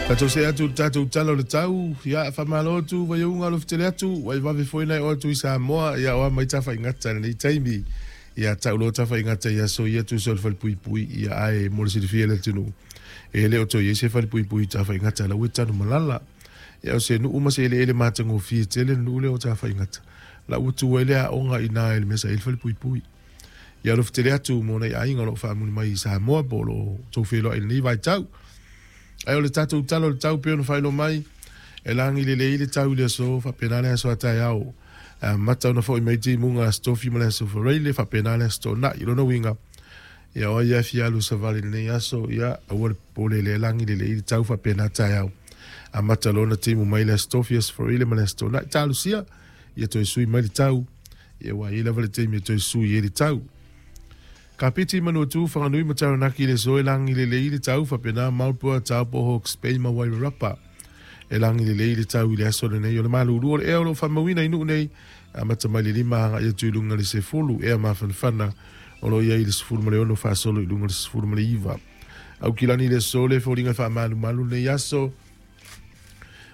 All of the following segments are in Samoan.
Tatou see atu i le tatou Tala o le Tau, ia, faamalo atu Vaiauga alofa tele atu, ua e vave foi ona e oo atu i Samoa, ia o a mai tafaigata i lenei taimi. Ia tau loa tafaigata i aso ia tusa o le falepuipui, ia ae mo le silafia e le atunuu, e le o toe i ai se falepuipui i Tafaigata, la ua i Tanumalala. Ia o se nuu ma se eleele matagofie tele le nuu lea o Tafaigata, la ua tu ai le aoga i ina i le mea sa i ai le falepuipui. Ia alofa tele atu mo nai aiga o lo o faamuli mai i Samoa po o lo o outou feiloai i lenei vaitau. Ae o le tatou tala o le tau pei ona faailoa mai, e lagi lelei le tau i le aso, faapena le aso a taeao. E amata ona foi mai timuga Aso Tofi ma le Aso Faraile, faapena le Aso Toonai. O lona uiga, ia o ai lava e fia alu i savali i lenei aso, ia aua le popole lea e lagi lelei le tau faapena taeao. Amata loa ona timu mai le Aso Tofi, Aso Faraile ma le Aso Toonai. Talosia, ia toe sui mai le tau, ia ua i ai lava le taimi e toe sui ai le tau. Kapiti, Manuatu, Whanganui ma Taranaki le aso e lagi lelei le tau, faapena Marlborough, Taupo, Hawke's Bay ma Wairarapa. E lagi lelei le tau i le aso lenei o le malulu o le ea o lo o faamauina i nuu nei, amata mai le 5 agai atu i luga le 10, ea mafanafana o lo o i ai i le 16 faasolo i luga le 19. Aukilani le aso le foliga faamalumalu lenei aso.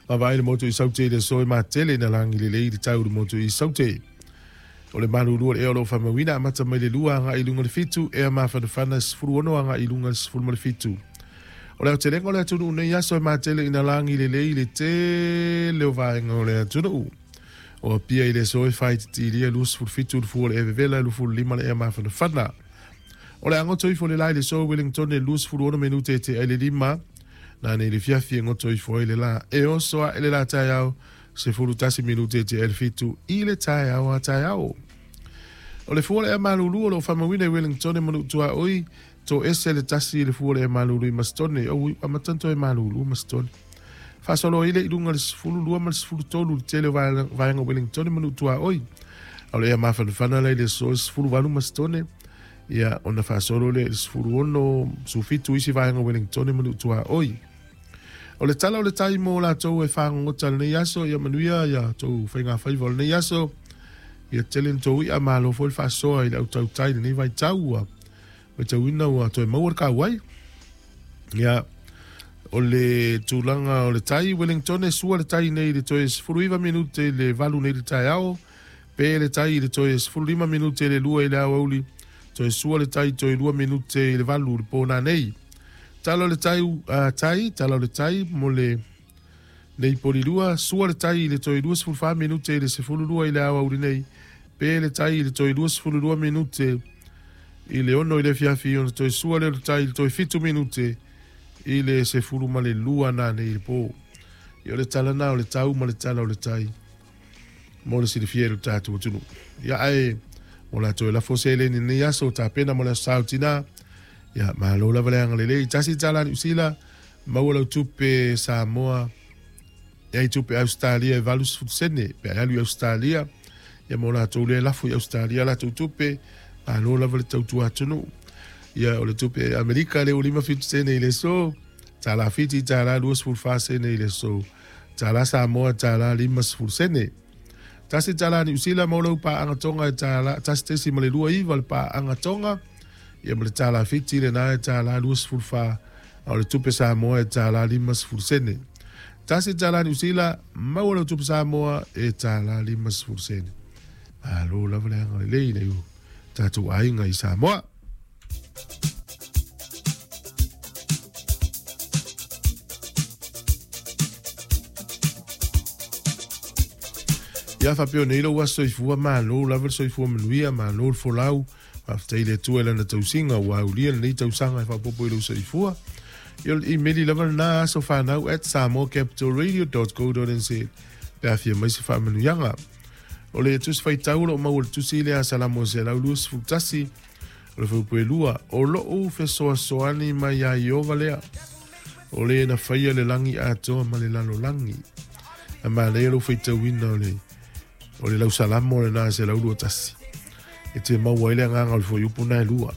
Vaavaai le motu i Saute i le aso e matele ina lagi lelei le tau i le motu i Saute. O le malulu o le ea o lo o faamauina amata mai le 2 agai i luga le 7, ea mafanafana 16 agai i luga le 17. O le aotelega o le atunuu nei aso e matele ina lagi lelei le tele o vaega o le atunuu. O Apia i le aso e faaitiitilia 27 le fua o le ea vevela, 25 le ea mafanafana. O le a goto ifo le la i le aso Wellington e 26 minute e tea i le 5, nanei le fiafi e goto ifo ai le la. E oso ae le la taeao 11 minute e tea i le 7 i le taeao a taeao. O le fua o le ea malulu o lo o faamauina i Wellington e Manuutuaoi, toese le tasi i le fua o le ea malulu i Masitone. Oi, ua amata ona toe malulu Masitone. Faasolo ai lea i luga i le 12 ma le 13 i le tele o vaega o Wellington e Manuutuaoi. A o le ea mafanafana la i le aso e 18 Masitone, ia ona faasolo lea i le 16, 17 isi vaega o Wellington e Manuutuaoi. O le tala o le tai mo latou e fagogota lenei aso, ia manuia ia tou faigafaiva o lenei aso, ia tele ni tou i'a, malo foi le faasoa i le autautai i lenei vaitau ua matauina ua toe maua le kauai. Ia, o le tulaga o le tai, Wellington e sua le tai nei i le toe 19 minute i le 8 nei i le taeao, pe le tai i le toe 15 minute i le 2 i le aoauli, toe sua le tai toe 2 minute i le 8 i le po nanei. Tala o le tai, tai, tala o le tai mo le nei polilua, sua le tai i le toe 24 minute i le 12 i le aoauli nei, pe le tai i le toe 22 minute i le 6 i le afiafi, ona toe sua lea o le tai i le toe 7 minute i le 12 nanei i le po. Ia o le tala na o le tau ma le tala o le tai mo le silafia e lo tatou atunuu. Ia ae mo latou e lafo seleni i lenei aso, tapena mo le aso Sa o Tina. Ia malo lava le agalelei. Tasi tala Niu Sila, maua lau tupe Samoa, e ai tupe Ausetalia e 80 sene, pe a alu i Ausetalia, ia mo latou lea e lafo i Ausetalia latou tupe, malo lava le tautua atunuu. Ia o le tupe Amerika lea ua 57 sene i le aso, tala Fiti tala 24 sene i le aso, tala Samoa tala 50 sene. Tasi tala Niu Sila maua lau paaga Tonga e tala 1.29 le paaga Tonga, ia ma le tala Fiti lena e tala 24, a o le tupe Samoa e tala 50 sene. Tasi tala Niu Sila, maua lau tupe Samoa e tala 50 sene. Malo lava le agalelei i nai o tatou aiga i Samoa. Ia faapea nei lou aso soifua, malo lava le soifua manuia, malo le folau. Faafetai i le Atua i lana tausiga ua aulia lenei tausaga e faaopoopo i lou soifua. Ia o le imeli lava lena asofanau@samoacapitalradio.co.nz pe a fia mai se faamanuiaga. O le tusi faitau o lo o maua i le tusi lea a Salamo 121, o le fuaiupu e 2, o lou fesoasoani mai ia Ieova lea, o le na faia le lagi atoa ma le lalolagi. A manaia lou faitauina o le O le lausalamo lena 121. E te maua ai le agaga o le fuaiupu na e lua.